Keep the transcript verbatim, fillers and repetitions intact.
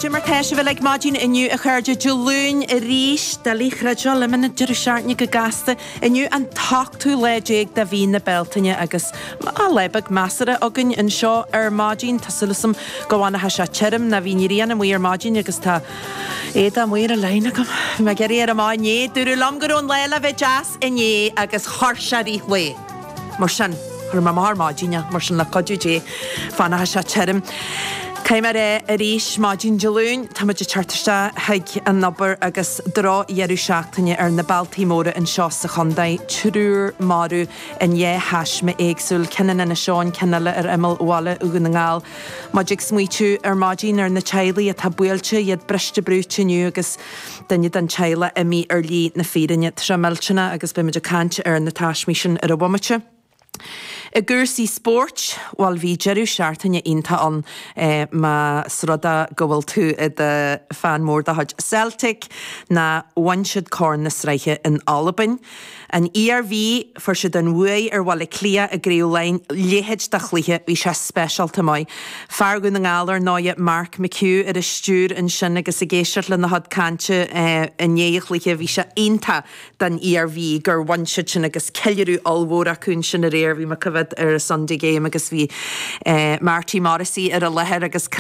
Cad é mar tá sibh ag maidin inniu a chairde Dé Luain arís doiligh a chreidiúint imíonn an deireadh seachtaine go gasta inniu an t-ochtú lá déag de mhí na Bealtaine agus lá beag measartha againn anseo ar maidin Tá súil agam go bhfanfaidh sé tirim ná bhí an ghrian amuigh ar maidin agus tá éadaí amuigh ar an line agam. Bhí mé ag iarraidh éirí amach inné dúradh liom go raibh an lá le bheith deas inné agus chuir sé rith lae. Mar sin chuir mé amach ar maidin mar sin le cuidiú Dé fanfaidh sé tirim. Caithfidh mé a rá arís maidin Dé Luain tá muid ag teacht isteach chuig an obair agus drochdheireadh seachtaine ar na bealtaí móra anseo sa chontae, triúr marbh in dhá thaisme éagsúil, ceann in Inis Eoghain, ceann eile ar imeall bhaile Dhún na nGall. Muid ag smaoitiú ar maidin ar na teaghlaigh atá buailte iad briste brúite inniu agus duine den teaghlach imithe ar shlí na fírinne. Tá sé millteanach agus beimid ag caint ar na taismí sin ar an bhomaite. I gcúrsaí spóirt, bhuel bhí deireadh seachtaine iontach ann eh, más rud é go bhfuil tú i do fan mór de chuid Celtic ná bhain siad corn na sraithe in Albain. An Iarmhí fuair siad an bhuaidh ar Bhaile Átha Cliath i gCraobh Laighean leithéid de chluiche bhí sé speisialta maith. Fear Dhún na nGall ar ndóigh Mark McHugh ar an stiúir ansin agus ag éisteacht lena chuid cainte eh, i ndiaidh an chluiche bhí sé iontach don Iarmhí gur bhain siad sin agus ceiliúradh ollmhór acu ansin aréir bhí mé ag coimhéad ar a Sunday game agus bhí eh, Marty Morrissey ar an láthair agus